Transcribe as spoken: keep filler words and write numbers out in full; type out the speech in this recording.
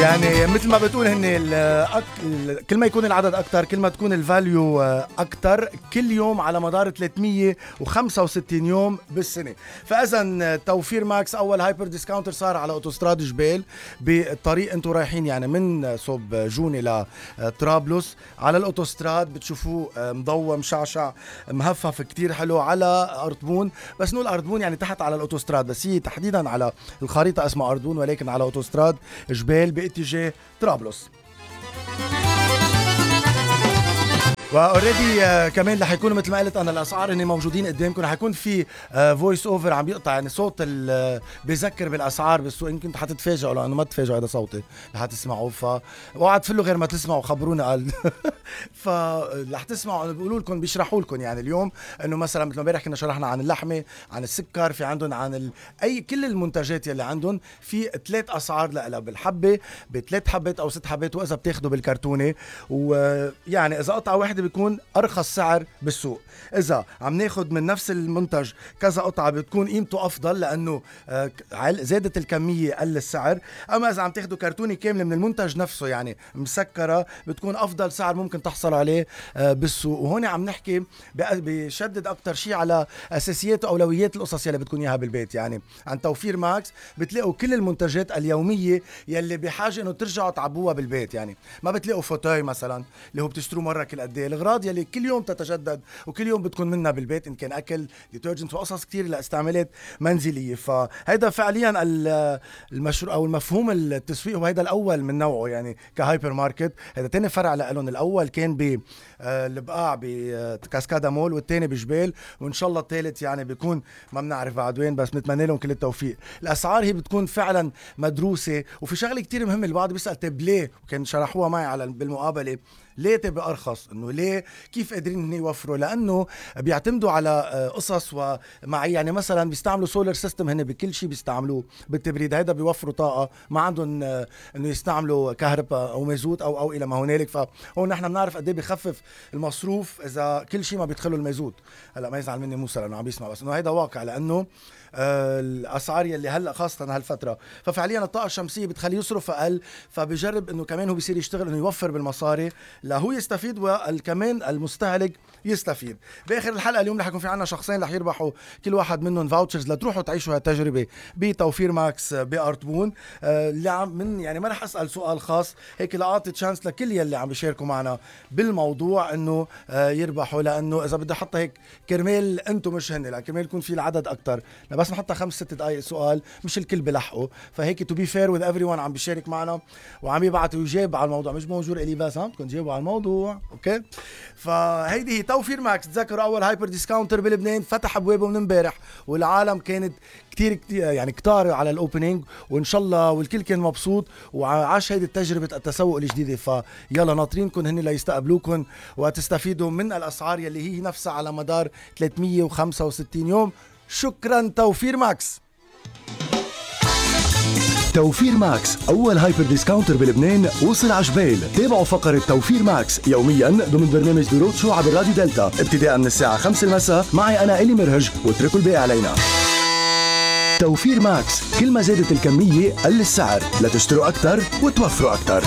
يعني مثل ما بتقول هن الأك... كل ما يكون العدد أكتر كل ما تكون الفاليو أكتر كل يوم على مدار ثلاثمية وخمسة وستين يوم بالسنة. فإذا توفير ماكس أول هايبر ديسكاونتر صار على أوتوستراد جبال بالطريق أنتوا رايحين يعني من صوب جوني لطرابلس على الأوتوستراد بتشوفوه مضوى مشعشع مهفف كتير حلو على أردبون. بس نقول أردبون يعني تحت على الأوتوستراد بس هي تحديدا على الخريطة اسمها أردبون ولكن على أوتوستراد جبال باتجاه طرابلس. واوريدي uh, كمان رح يكونوا مثل ما قلت انا الاسعار هن موجودين قدامكم. رح يكون في فويس uh, اوفر عم بيقطع يعني صوت uh, بيذكر بالاسعار بالسوق. يمكن حتتفاجئوا لانه ما تتفاجئوا هذا صوتي رح تسمعوه. ف اوعى تفلوا غير ما تسمعوا خبرونا قال فرح تسمعوا بيقولوا لكم بيشرحوا لكم يعني اليوم انه مثلا مثل ما امبارح كنا شرحنا عن اللحمه عن السكر في عندهم عن ال... اي كل المنتجات يلي عندهم في ثلاث اسعار لها بالحبه بثلاث حبات او ست حبات واذا بتاخذوا بالكرتونه. ويعني اذا قطعه واحده بيكون ارخص سعر بالسوق. اذا عم ناخد من نفس المنتج كذا قطعه بتكون قيمته افضل لانه زادت الكميه قل السعر. اما اذا عم تاخدوا كرتونه كامله من المنتج نفسه يعني مسكره بتكون افضل سعر ممكن تحصل عليه بالسوق. وهون عم نحكي بشدد اكتر شيء على اساسيات واولويات القصص يلي بتكون اياها بالبيت. يعني عن توفير ماكس بتلاقوا كل المنتجات اليوميه يلي بحاجه انه ترجعوا تعبوها بالبيت. يعني ما بتلاقوا فوتاي مثلا اللي هو بتشتروه مره كل قد ايه. الاغراض يلي كل يوم تتجدد وكل يوم بتكون منها بالبيت ان كان اكل ديترجنت وقصص كتير لاستعمالات منزليه. فهيدا فعليا المشروع او المفهوم التسويق وهيدا الاول من نوعه يعني كهايبر ماركت. هيدا تاني فرع لهم. الاول كان ب البقاع بكاسكادا مول والتاني بجبال وان شاء الله الثالث يعني بيكون ما بنعرف بعد وين بس بنتمنى لهم كل التوفيق. الاسعار هي بتكون فعلا مدروسه. وفي شغله كتير مهمه البعض بيسال طيب ليه وكان شرحوها معي على بالمقابله ليه تبقى أرخص. إنه ليه كيف قادرين إن يوفروا لأنه بيعتمدوا على قصص ومعي. يعني مثلا بيستعملوا سولار سيستم هن بكل شيء بيستعملوه بالتبريد. هيدا بيوفروا طاقة ما عندهم إنه يستعملوا كهرباء أو مازوت أو أو إلى ما هنالك. فهون نحن بنعرف قد إيه بيخفف المصروف إذا كل شيء ما بيدخلوا المازوت. هلا ما يزعل مني موسى لأنه عم بيسمع بس إنه هيدا واقع لأنه آه الاسعار يلي هلا خاصه هالفتره. ففعليا الطاقه الشمسيه بتخليه يصرف اقل. فبجرب انه كمان هو بيصير يشتغل انه يوفر بالمصاري لهو يستفيد وكمان المستهلك يستفيد. باخر الحلقه اليوم رح يكون في عنا شخصين رح يربحوا كل واحد منهم فاوتشرز لتروحوا تعيشوا هالتجربه بتوفير ماكس بأردبون. آه اللي عم من يعني ما رح اسال سؤال خاص هيك لاعطي تشانس لكل يلي عم بيشاركوا معنا بالموضوع انه آه يربحوا. لانه اذا بدي احطها هيك كرمال انتم مش هن لا كرمال يكون في العدد اكتر بس نحطها خمس ست دقايق سؤال مش الكل بلحقوا. فهيك تو بي فير وذ ايفري ون عم بيشارك معنا وعم يبعث ويجاوب على الموضوع. مش موجود الي بس ها بدكم تجاوبوا على الموضوع. اوكي فهيدي هي توفير ماكس. تذكروا اول هايبر ديسكاونتر بلبنان فتح ابوابه من امبارح والعالم كانت كتير كتير يعني كتار على الاوبننج وان شاء الله والكل كان مبسوط وعاش هيدي تجربه التسوق الجديده. فيلا ناطرينكم هن ليستقبلوكم وتستفيدوا من الاسعار يلي هي نفسها على مدار ثلاثمية وخمسة وستين يوم. شكرا توفير ماكس. توفير ماكس أول هايبر ديسكاونتر بلبنان وصل عجبال. تابعوا فقرة توفير ماكس يوميا ضمن برنامج دروت شو عبر راديو دلتا ابتداء من الساعة خمسة المساء. معي أنا إلي مرهج واتركوا الباقي علينا. توفير ماكس كل ما زادت الكمية قل السعر لتشتروا أكتر وتوفروا أكتر.